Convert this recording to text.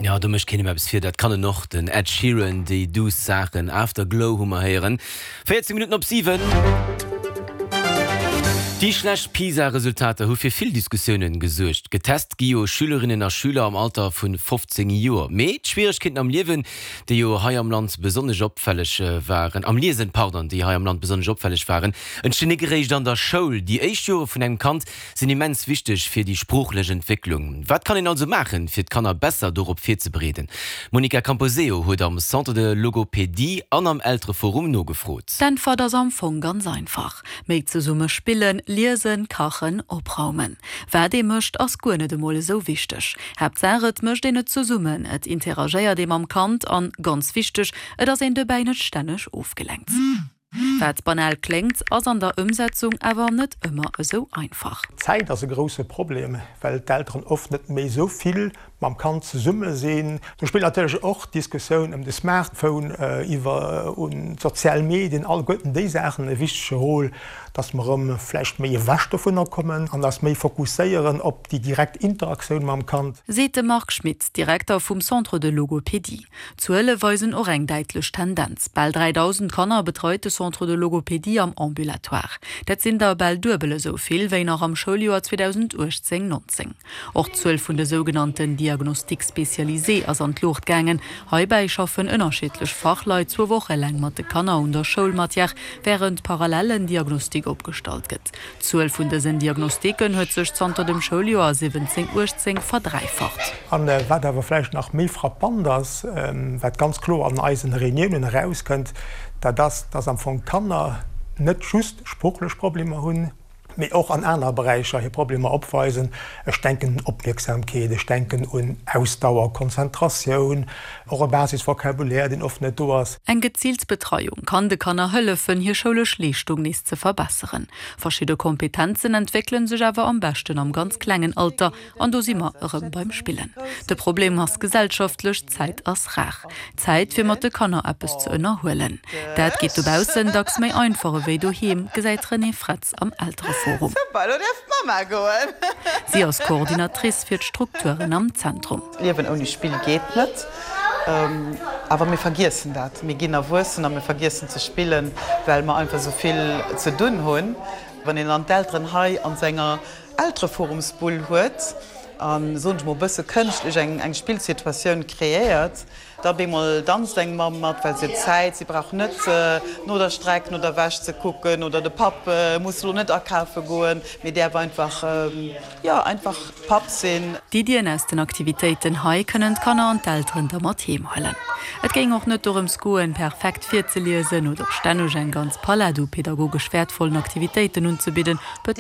Jo, do mécht keen em eppes vir, dat kann en och, den Ed Sheeran, déi duuss Saachen. Afterglow hu mer héieren. 14 Minutten op 7. Déi schlecht PISA-Resultater hu fir vill Diskussiounen gesuergt. Getest gi jo Schülerinnen a Schüler am Alter vu 15 Joer. Mee d'Schwieregkeeten am Liewen, déi jo hei am Land besonnesch opfälleg waren, am Liesen, pardon, déi hei am Land besonnesch opfälleg waren, entstinn nik eréischt an der Schoul. Déi éischt Jore vun engem Kand sinn immens wichteg fir déi sproochlech Entwécklung. Wat kann een also maachen, fir d'Kanner besser dorop virzebereeden? D'Monica Camposeo huet am Centre de Logopédie an am Eltereforum nogefrot. D'Äntwert ass am Fong ganz einfach, Méi zesumme spillen, liesen, kachen, opraumen. Wat ee mécht, ass guer net emol esou wichteg. Haaptsaach et mécht een et zesummen, et interagéiert ee mam Kand an, ganz wichteg, et ass een dobäi net stänneg ofgelenkt. Wat banal kléngt, ass an der Ëmsetzung awer net ëmmer esou einfach. D'Zäit ass e grousse Problem, well d'Elteren oft net méi esou vill mam Kand zesumme sinn. Do spillt natierlech och d'Diskussioun ëm de Smartphone, iwwer un d'sozial Medien, alleguerten déi Saachen e wichtege Rôle, dass mer erëm vläicht méi ewech dovunner kommen an eis méi fokusséieren op déi direkt Interaktioun mam Kand. Seet de Marc Schmit, Direkter vum Centre de Logopédie. D'Zuele weisen och eng däitlech Tendenz, Bal 3.000 Kanner betreit de Centre de Logopédie am Ambulatoire. Dat sinn der bal duebel esou vill wéi nach am Schouljoer 2018, 19. Och d'Zuel vun de sougenannten Diagnostiques spécialisés ass an d'Luucht gaangen. Heibäi schaffen ënnerschiddlech Fachleit zwou Woche laang mat de Kanner un der Schoulmatière, wärend parallel en Diagnostic opgestallt gëtt. D'Zuel vun dësen Diagnostiken huet sech zanter dem Schouljoer 17, 18 verdräifacht. A wat awer vläicht nach méi frappant ass, wat ganz kloer an eisen Reuniounen erauskënnt, dat ass, dass am Fong d'Kanner net just sproochlech Problemer hunn, mee och an anere Beräicher hir Problemer opweisen. Ech denken un Opmierksamkeet, ech denken un Ausdauer, Konzentratioun, och e Basisvocabulaire, deen oft net do ass. Eng geziilt Betreiung kann de Kanner hëllefen, hir schoulesch Leeschtung nees ze verbesseren. Verschidde Kompetenzen entwéckele sech awer am beschten am ganz klengen Alter, an do si mer erëm beim Spillen. De Problem ass gesellschaftlech, Zäit ass rar. Zäit fir mat de Kanner eppes ze ënnerhuelen. Dat geet dobaussen dacks méi einfach ewéi doheem, gesäit d'Renée Fretz am Eltereforum. Si ass Coordinatrice fir d'Strukturen am Zentrum. Liewen ouni Spill geet net. Awer mir vergiessen dat. Mir ginn erwuessen a mir vergiessen ze spillen, well mer einfach esou vill ze dunn hunn. Wann een dann d'Elteren hei an senger Eltereforumsbull huet a soen ech mol e bësse kënschtlech eng Spillsituatioun kreéiert, da op eemol danzt eng Mamm mat, well si huet Zäit, si brauch net no der Streck, no der Wäsch ze kucken oder de Papp muss elo net akafe goen, mee däerf einfach Jo, einfach Papp sinn. D'Iddien aus den Aktivitéiten hei kënnen d'Kanner an d'Elteren da mat heem huelen. Et géing och net dorëms goen, perfekt virzeliesen oder stänneg eng ganz Palett u pedagogesch wäertvollen Aktivitéiten unzebidden, betount.